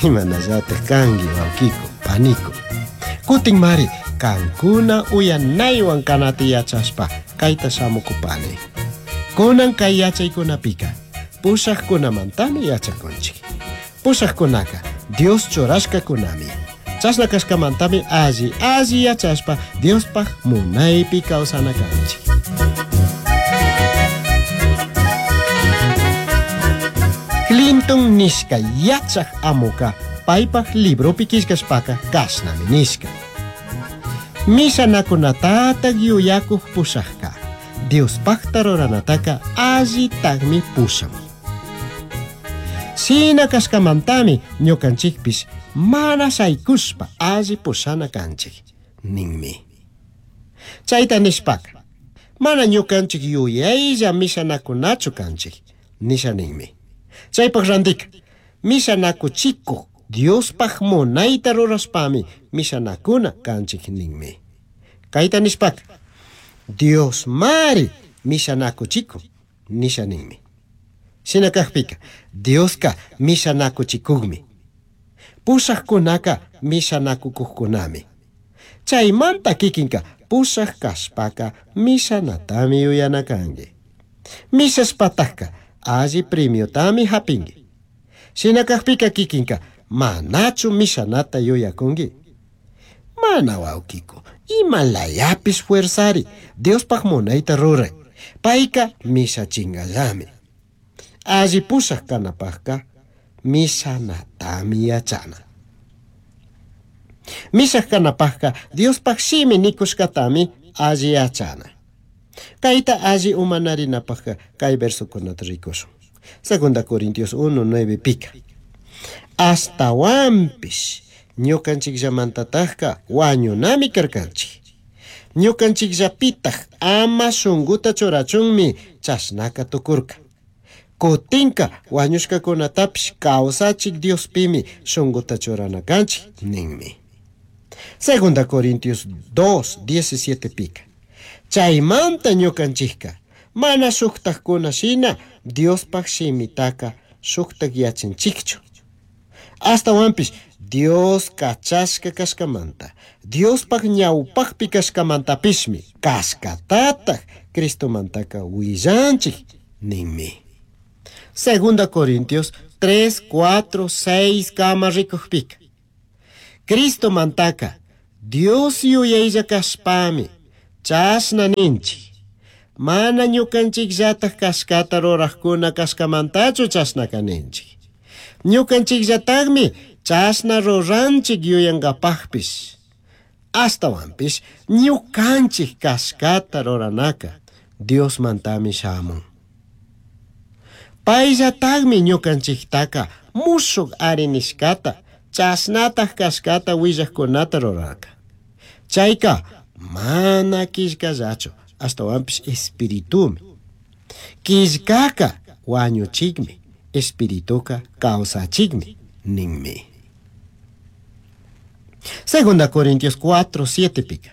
Imanallataj kanki wawkiku, paniku. Kutin mari kankuna uyanaywan kanata yachashpa kayta shamukupani. Kunan kay yachaykunapika pushajkunamantami yachakunchik. Pushajkunaka Dios churashkakunami. Chashna kashkamantami alli alli yachashpa Diospaj munaypi kawsana kanchik. Clinton nishka yachaj amuka paypaj libropi killkashpaka kashnami nishka. Mishanakunatatak yuyakuj pushajka Diospajta ruranataka allitakmi pushan. Shina kashkamantami ñukanchikpish mana shaykushpa alli pushana kanchik ninmi. Chayta nishpaka mana ñukanchik yuyaylla mishanakunachu kanchik nisha ninmi. Chaypaj randika mishanakuchikuj Diospaj munayta rurashpami mishanakuna kanchik ninmi. Kayta nishpaka Dios mari mishanakuchikun nisha ninmi. Shina kajpika Dioska mishanakuchikukmi. Pushajkunaka mishanakukujkunami. Chaymanta kikinka pushaj kashpaka mishanatami yuyana kanki. Mishashpatajka alli premiotami hapinki. Shina kajpika kikinka manachu mishanata yuyakunki. Mana wawkiku, imalayapish fuerzari, Diospaj munayta ruray. Payka mishachingallami. Alli pushaj kanapajka mishanatami yachana. Mishaj kanapajka Diospaj shimi nikushkatami alli yachana. Kayta alli umanarinapajka kay versokunata rikushun. Segunda Corintios 1, 9 pika. Ashtawanpish ñukanchikllamantatajka wañunami karkanchik. Ñukanchikllapitaj ama shunkuta churachunmi chashnaka tukurka. Kutinka wañushkakunatapish kawsachik Diospimi shunkuta churana kanchik ninmi. Segunda Corintios 2, 17 pika. Chaymanta ñukanchikka mana shuktajkuna shina Diospaj shimitaka shuktak yachanchikchu. Ashtawanpish Dios kachashka kashkamanta, Diospaj ñawpajpi kashkamantapishmi kashkatataj Cristomantaka willanchik ninmi. Segunda Corintios 3, 4, 6 kama rikujpika. Cristomantaka Dios yuyaylla kashpami chashna ninchik. Mana ñukanchikllataj kashkata rurajkuna kashkamantachu chashnaka ninchik. Ñukanchikllatajmi chashna ruranchik yuyankapajpish. Ashtawanpish ñukanchik kashkata ruranaka Diosmantami shamun. Payllatajmi ñukanchiktaka mushuk ari nishkata chashnataj kashkata willajkunata rurarka. Chayka mana killkallachu ashtawanpish espiritumi. Killkaka wañuchikmi, espirituka kawsachikmi ninmi. Segunda Corintios 4, 7 pika.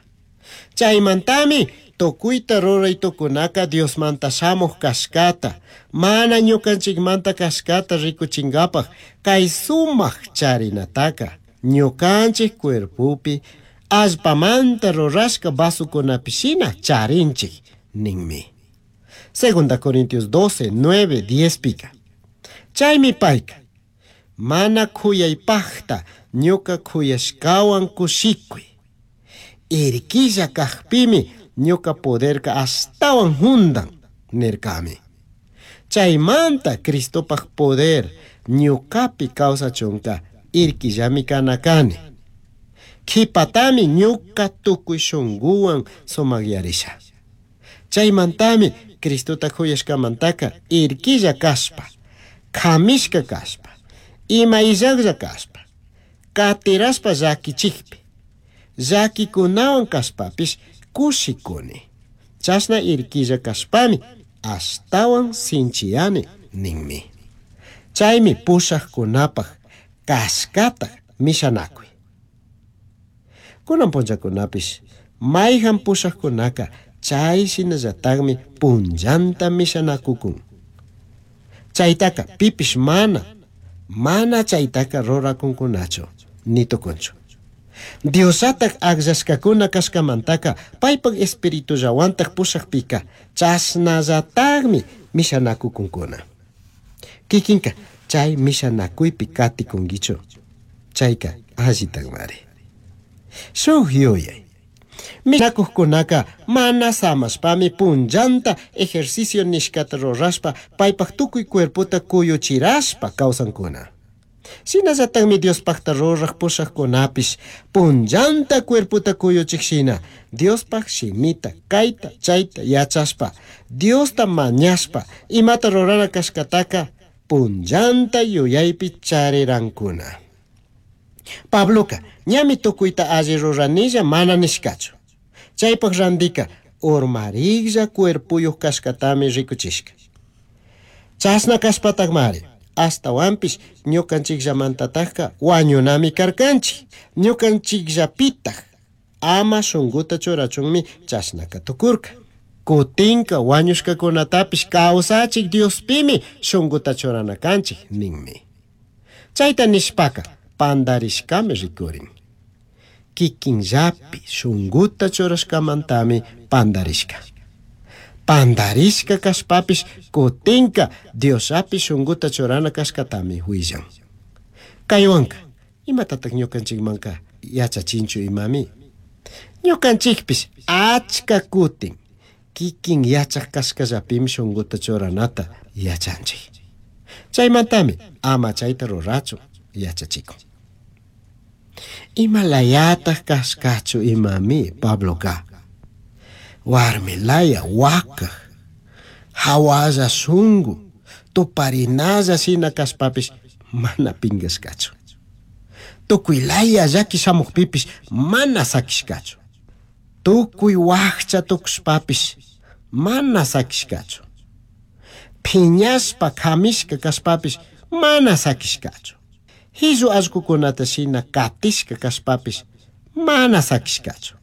Chaymantami tukuyta ruray tukunaka Diosmanta shamuj kashkata, mana ñukanchikmanta kashkata rikuchinkapaj kay sumaq charinataka ñukanchik cuerpopi allpamanta rurashka vasokunapi charinchik ninmi. Segunda Corintios 12, 9, 10 pika. Chaymi payka mana khuyaypajta ñuka khuyashkawan kushikuy. Irkilla kajpimi ñuka poderka ashtawan jundan nirkami. Chaymanta Cristopaj poder ñukapi kawsachunka irkillami kana kani. Kipatami ñuka tukuy shunkuwan sumakyarisha. Chaymantami Cristota khuyashkamantaka irkilla kashpa, kamishka kashpa, ima illaklla kashpa, katirashpa llakichikpi, llakikunawan kashpapish kushikuni. Chashna irkilla kashpami ashtawan sinchiyani ninmi. Chaymi pushajkunapaj kashkata mishanakuy. Kunan punllakunapish mayhan pushajkunaka chay shinallatakmi punllanta mishanakukun. Chaytaka pipish mana Mana chaytaqa rurakunkunachu, ni tukunchu. Diosllataj agllashkakuna kashkamantaka paypak espiritullawantaj pushakpika chashnallatajmi mishanakukunkuna. Kikinka chay mishanakuypi katikunkichu, chayka allitakmari. Shuk yuyay. Mishanakuqkunaka mana samashpami punllanta ejercicio nishkata rurashpa paypak tukuy cuerpota kuyuchirashpa kawsankuna. Shinallatakmi Diospakta ruraj pushaqkunapish punllanta cuerpota kuyuchik shina Diospaj shimita kayta chayta yachashpa Diosta mañashpa imata rurana kashkataka punllanta yuyaypi charirankuna. Pabloka ñami tukuyta alli ruranilla mana nishkachu. Chaypak randika urmariklla cuerpuyuq kashkatami rikuchishka. Chashna kashpatakmari ashtawanpish ñukanchikllamantatajka wañunami karkanchik. Ñukanchikllapitaj ama shunkuta churachunmi chashnaka tukurka. Kutinka wañushkakunatapish kawsachik Diospimi shunkuta churana kanchik ninmi. Chayta nishpaka pandarishkami rikurin. Kikinllapi shunkuta churashkamantami pandarishka. Pandarishka kashpapish kutinka Diosllapi shunkuta churana kashkatami willan. Kaywanka imatataq ñukanchikmanka yachachinchu imami? Ñukanchikpish achka kutin kikin yachaq kashkallapimi shunkuta churanata yachanchik. Chaymantami ama chayta rurachun yachachikun. Imalayataq kashkachu imami Pabloka? Warmilaya wakaj, hawalla shunku, tuparinalla shina kashpapish mana pinkashkachu. Tukuylaya llaki shamukpipish mana sakishkachu. Tukuy wakcha tukushpapish mana sakishkachu. Phiñashpa kamishka kashpapish mana sakishkachu. Hillu allkukunata shina katishka kashpapish mana sakishkachu.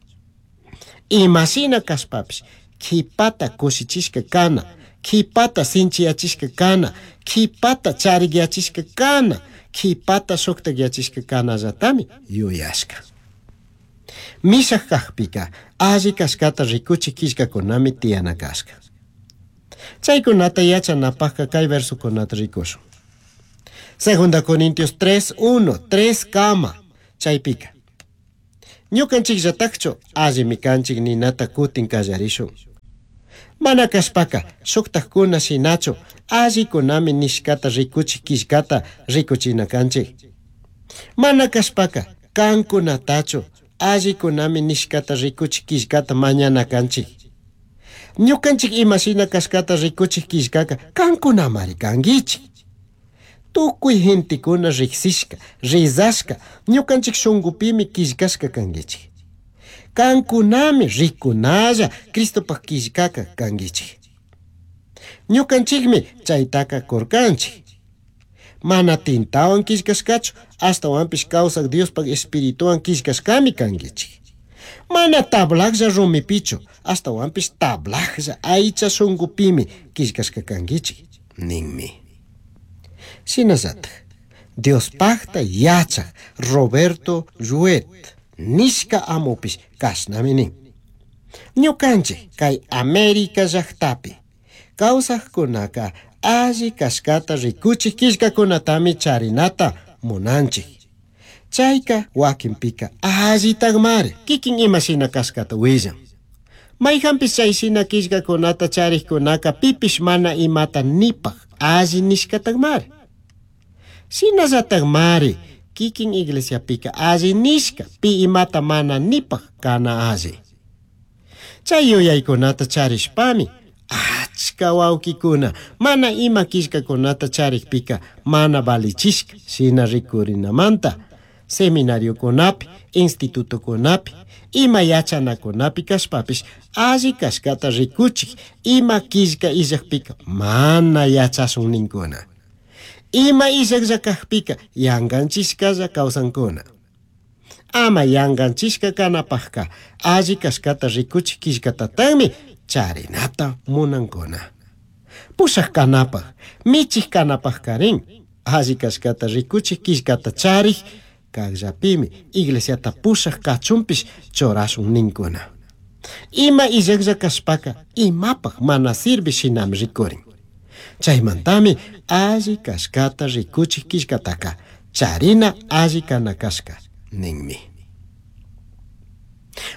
Imashina kashpapish kipata kushichishka kana, kipata sinchiyachishka kana, kipata charikyachishka kana, kipata shuktakyachishka kanallatami yuyashka. Mishak kakpika alli kashkata rikuchik killkakunami tiyana kashka. Chaykunata yachanapakka kay versokunata rikushun. Segunda Corintios 3:1, 3 kama chaypika. Ñukanchikllatakchu allimi kanchik ninata kutin kallarishun. Mana kashpaka shuktakkuna shinachu allikunami nishkata rikuchik killkata rikuchina kanchik. Mana kashpaka kankunatachu allikunami nishkata rikuchik killkata mañana kanchik. Ñukanchik imashina kashkata rikuchik killkaka kankunamari kankichik. Tukuy gentekuna riksishka, rizashka, ñukanchik shunkupimi killkashka kankichik. Kankunami rikunalla Cristopaj killkaka kankichik. Ñukanchikmi chaytaka kurkanchik. Mana tintawan killkashkachu, ashtawanpish kawsak Diospaj espirituwan killkashkami kankichik. Mana tablaklla rumipichu, ashtawanpish tablaklla aycha shunkupimi killkashka kankichik ninmi. Shinallataj Diospakta yachak Roberto Ruet nishka amupish kashnami nin. Ñukanchik kay América llaktapi kawsaqkunaka alli kashkata rikuchik killkakunatami charinata munanchik. Chayka wakinpika allitakmari kikin imashina kashkata willan. Mayhanpish chayshina killkakunata charikkunaka pipish mana imata nipaj alli nishkatakmari. Shinallatakmari kikin iglesiapika alli nishka pi imata mana nipaj kana alli. Chay yuyaykunata charishpami achka wawkikuna mana ima killkakunata charikpika mana valichishka shina rikurinamanta seminariokunapi, institutokunapi, ima yachanakunapi kashpapish alli kashkata rikuchik ima killka illakpika mana yachashun ninkuna. Ima illaklla kakpika yankanchishkalla kawsankuna. Ama yankanchishka kanapakka alli kashkata rikuchik killkatatagmi charinata munankuna. Pushak kanapaj, michik kanapaj karin. Alli cashcata ricuchij quillcata charij cajllapimi iglesiata pushaj cachunpish churashun nincuna. Ima illajlla cashpaca imapaj mana sirvi shinami ricurin. Chaimantami alli cashcata ricuchij quillcataca charina alli cana cashca ninmi.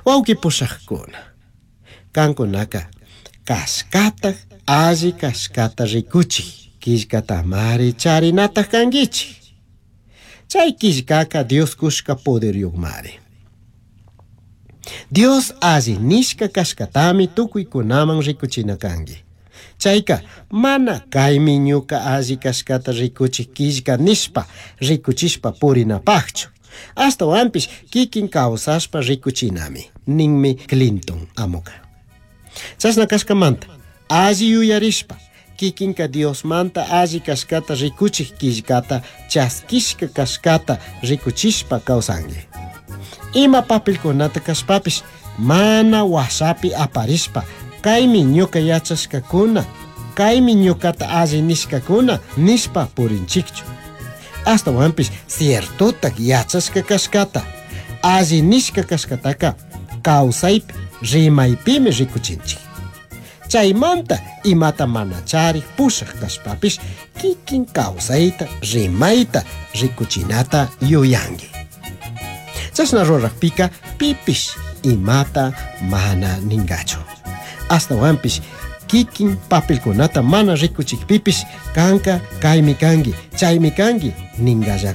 Huauqui pushajcuna, cancunaca cashcataj alli cashcata ricuchij quillcatamari charinataj canguichij. Chay quillcaca Dios cushca poderyuqmari. Dios alli nishca cashcatami tucuicunaman ricuchina cangui. Chaica mana kaymi ñuka alli cashcata ricuchij quillca nishpa ricuchishpa purinapajchu. Ashtahuanpish kikin kawsashpa ricuchinami, ninmi Clinton amuka. Chashna cashcamanta alli yuyarishpa kikinka Diosmanta alli cashcata ricuchij quillcata chaskishka cashcata ricuchishpa kawsanki. Ima papelkunata kashpapish mana washapi aparishpa kaymi ñuka yachashkakuna, kaymi ñukata alli nishkakuna nishpa purinchikchu. Ashtahuanpish ciertotak yachashka cashcata, alli nishka cashcataka kawsaypi rimaypimi rikuchinchik. Chaymanta imata mana charik pushaj kashpapish kikin kawsayta rimayta rikuchinata yuyanki. Chashna rurajpika pipish imata mana ningachu. Ashtahuanpish kikin papelkunata mana rikuchikpipish kanka kaymi kanki, chaymi kanki ningallakuna.